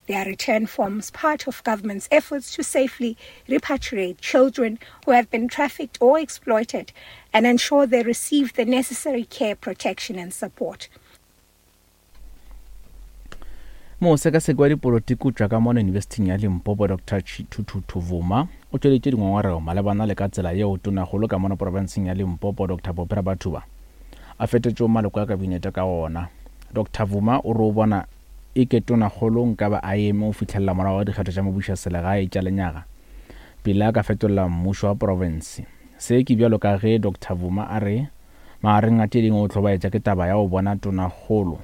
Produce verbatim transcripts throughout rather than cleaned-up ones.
Their return forms part of government's efforts to safely repatriate children who have been trafficked or exploited and ensure they receive the necessary care, protection and support. Mosekaseki wa dipolotiki o tšwa ka mono Yunibesithing ya Limpopo Doctor Chithuthuthu Vuma o tšweleditše dingongorego malebana le ka tsela yeo Tonakgolo ka mono profenseng ya Limpopo Doctor Phophi Ramathuba a fetetšego maloko a kabinete ka gona. Doctor Vuma o re o bona eke Tonakgolo nkabe a eme go fihlelela morago ga dikgetho tša mebušoselegae tša lenyaga pele a ka fetolela mmušo wa profense. Se ke bjalo ka ge Doctor Vuma a re magareng a tše dingwe o hlobaetša ke taba ya go bona Tonakgolo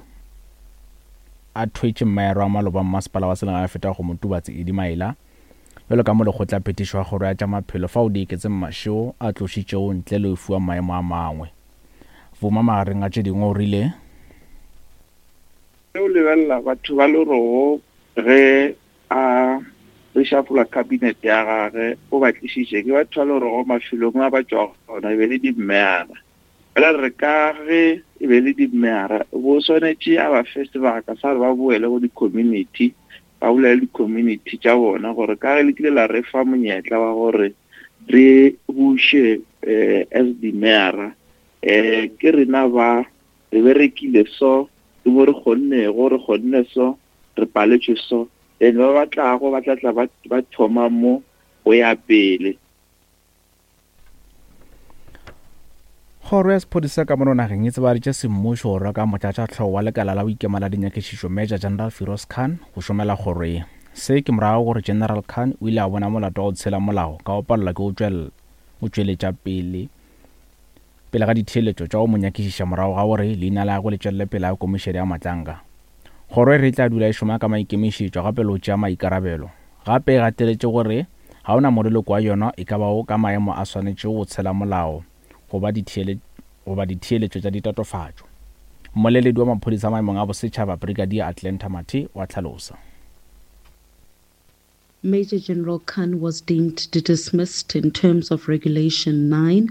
a thwetše mmaero wa maloba mmasepala wa selegae feta go Motubatse Eddie Maila bjalo ka molekgotlaphethiši wa kgoro ya tša maphelo fao Dieketseng Mashego a tlošitšego ntle le go fiwa maemo a mangwe. Vuma magareng a tše dingwe o rile, Ge o lebelela batho ba Lerogo ge a reshuffle cabinet ya gage o ba tlišitše ke batho ba Lerogo mafelong a ba tšwago gona e be le dimmeara. Fela re ka ge e be le dimmeara bo swanetše a ba fe sebaka sa gore ba boele go di-community, ba bolele di-community tša bona gore ka ge le kile la re fa monyetla wa gore re buše um as dimmeara um ke rena ba re berekile so, ke mo re kgonnego, re kgonne so, re paletšwe so. Then ba ba tlago ba tla tla ba ba thoma mo go ya pele. Kgoro ya sephodisa ka mono nageng e tsebaditše semmušo go reka motlatšahlogo wa lekala la go ikema la dinyakišišo Major General Firoz Khan go šomela kgoro ye. Se ke morago gore General Khan o ile a bona molato wa go tshela molao ka go palelwa ke go tšweletša pele pele ga ditheeletšo tša go mo nyakišiša morago ga gore leina la gagwe le tšwelele pele ga komišene ya Matlanka. Kgoro e re e tla dula e šoma ka maikemišetšo gape le go tšea maikarabelo. Gape e gateletše gore ga ona moleloko wa yona e ka bago ka maemo a swanetšego go tshela molao goba goba ditheeletšo tša ditatofatšo. Mmoleledi wa maphodisa maemong a bosetšhaba Brigadier Atlanta Mathe wa hlalosa. Major General Khan was deemed dismissed in terms of Regulation nine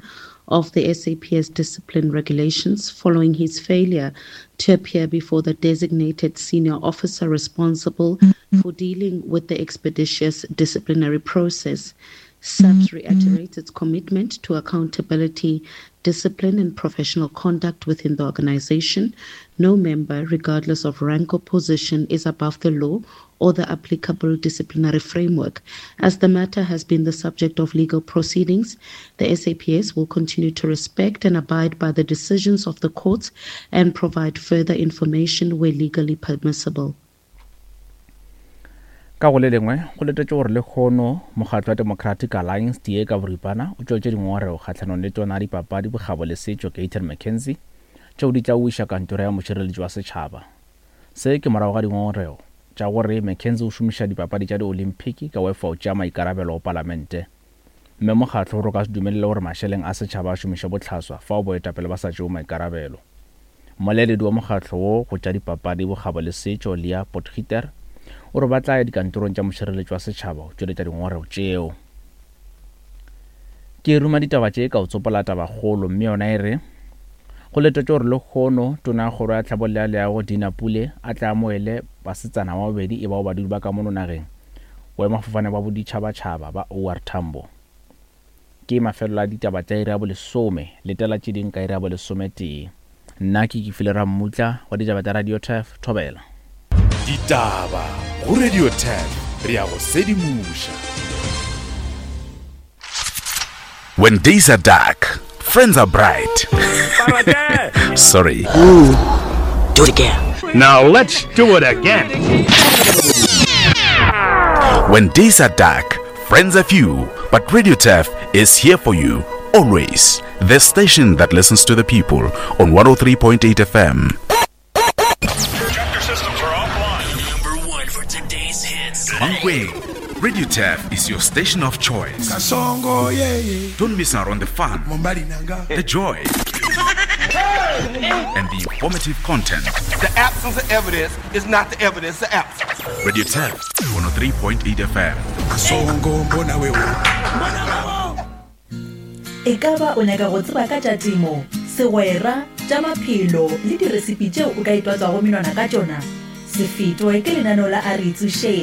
of the S A P S Discipline Regulations following his failure to appear before the designated senior officer responsible for dealing with the expeditious disciplinary process. S A P S reiterates its commitment to accountability, discipline and professional conduct within the organization. No member, regardless of rank or position, is above the law or the applicable disciplinary framework. As the matter has been the subject of legal proceedings, the S A P S will continue to respect and abide by the decisions of the courts and provide further information where legally permissible. Ka go le lengwe, go letetše gore lekgono mokgatlo wa Democratic Alliance D A ka boripana o tšweletše dingongorego kgahlanong le tona ya dipapadi, bokgabo le setšo Gayton McKenzie tšeo di tla wiša kantoro ya mošireletši wa setšhaba. Se ke morago ga dingongorego tša gore McKenzie o šomiša dipapadi tša di-Olympic ka go efa o tšea maikarabelo go palamente. Mme mokgatlo o re o ka se dumelele gore mašeleng a setšhaba a šomiše bohlaswa fao boetapele ba sa tšeo maikarabelo. Mmoleledi wa mokgatlo wo go tša dipapadi, bokgabo le setšo Leah Potgieter o re ba tla ya dikantorong tša mošireletši wa setšhaba go tšweletša dingongorego tšeo. Ke ruma ditaba tše ka o tsopola tabakgolo, mme yona e re go letetše gore lekgono tona ya kgoro ya tlhabollo ya leago Dina Pule a tla amoele basetsana ba babedi e bao badudi ba ka mono nageng boemafofane ba boditšhabatšhaba ba O R Tambo. Ke mafelelo a ditaba tša iri ya bolesome, letela tše ding ka iri ya bolesometee. Nna ke Kefile Rammutla wa ditaba tša Radio Turf, Thobela. Ditaba go Radio Turf, re ya go sedimoša. When days are dark, friends are bright. Sorry. Ooh, do it again. Now let's do it again. When days are dark, friends are few, but Radio Turf is here for you always. The station that listens to the people on one oh three point eight F M. Projector systems are offline. Number one for today's hits. Mankweng, Radio Turf is your station of choice. Kasongo, yeah, yeah. Don't miss out on the fun, Mombali nanga. the joy, and the informative content. The absence of evidence is not the evidence of absence. Radio Turf, one oh three point eight F M. Kasongo, mbona wewe. E ka ba o nyaka go tseba ka tša temo, segwera, tša maphelo le diresipi tšeo o ka itwatswago menwana ka tšona? Se fetwe ke lenaneo la A Re Itsošeng.